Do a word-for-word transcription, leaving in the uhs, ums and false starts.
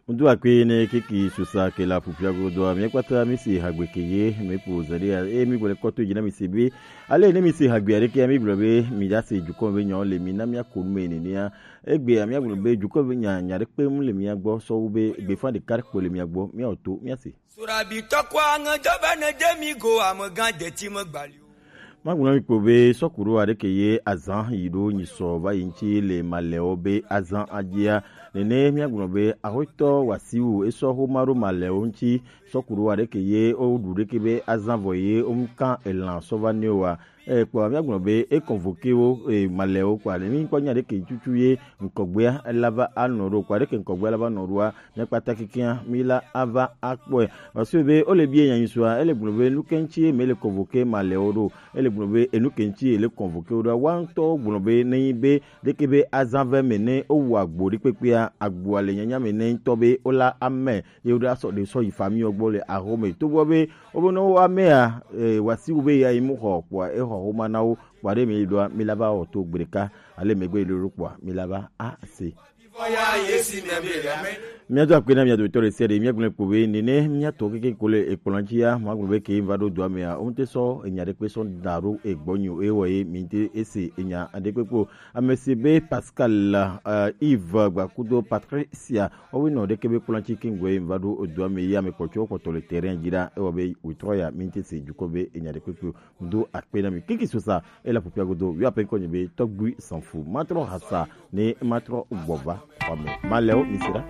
Ŋdu akpe ne kiki susa ke la pupia godo, mi kpata mi si hagbe ke ye, mi po zade ya, e mi gbele kɔto dzi na mi se be, ale ne mi se hagbe aɖe ke ya, mi gblɔ be mi da se dukɔ be nyawo le mi na mi ako nu me nenea. Egbe ya mi gblɔ be dukɔ be nya, nya ɖe kpe mu le mia gbɔ sɔ wu be gbefa ɖeka ɖe kpo le mia gbɔ, mia oto, mia se. Surabi tɔkwa ŋe dɔ be ne de mi go amegã deti me gbali o. Magblɔ mi kpo be sɔkuro aɖe ke ye azã yi ɖo nyi sɔ va yi ŋuti le malɛwo be azã adzia. Nene míagblɔ be ahoitɔ wasiwu esɔ xoma ɖo malɛwo ŋuti. Sɔkuro aɖe ke ye woɖu ɖeke be azã vɔ ye womukan elan sɔ va ne wa. E, kpɔ míagblɔ be e convoqué wo, e, malɛwo kpɔ aɖe mi kpɔ nya ɖe ke tutu ye ŋkɔgbea ela va anɔ ɖo kpɔ aɖe ke ŋkɔgbea la va nɔ ɖoa. Míakpata kekeŋ míla ava akpɔe. Parce que be wole bie nyanyisua, ele gblɔ be nu ke ŋuti mele convoqué malɛwo ɖo. Ele gblɔ be enu ke ŋuti ele convoqué wo ɖo. Wa ŋutɔ gblɔ be ne nyi be ɖeke be azã ve me ne wowu agbo ɖe kpekpea, agboa le nyanya me ne ŋutɔ be wola ame ye woɖo asɔ ɖe sɔ yi famiwo gbɔ le axome. Togbɔ be wobe ne wo amea, e, wasiwu be ya yi mu xɔ kpɔa, exɔ xoma na wo. Kpɔa ɖe mi ɖoa, mi la va wɔ to gbe ɖeka, ale megbe yi ɖo kpɔa, mi la va ase. Míado akpe na mia dometɔ ɖe sia ɖe, míagblɔe kpo be nene míatɔ keke ko le ekplɔ̃ dzi ya, magblɔ be ke va ɖo dɔa mea, wo ŋute sɔ enya ɖe kpe sɔ da ɖo egbɔ nyo, ewɔ ye mi ŋute ese enya ɖe kpe kpo. Ame si be Pascal, uh, Yves Gbakudo Patricia, woawo nɔ ɖeke be kplɔ̃ dzi ke ŋgɔe va ɖo dɔa me ye ame kpɔtɔ kpɔtɔ le terrain dzi ɖa, ewɔ be wòtrɔ ya mi ŋute se dukɔ be enya ɖe kpe kpo. Do akpe na mi. Kiki sosa, ela pupia godo, wi ape konye be tɔgbui sanfu. Matrɔ hasa, ne matrɔ gbɔva, wame. Malɛwo, mi sera.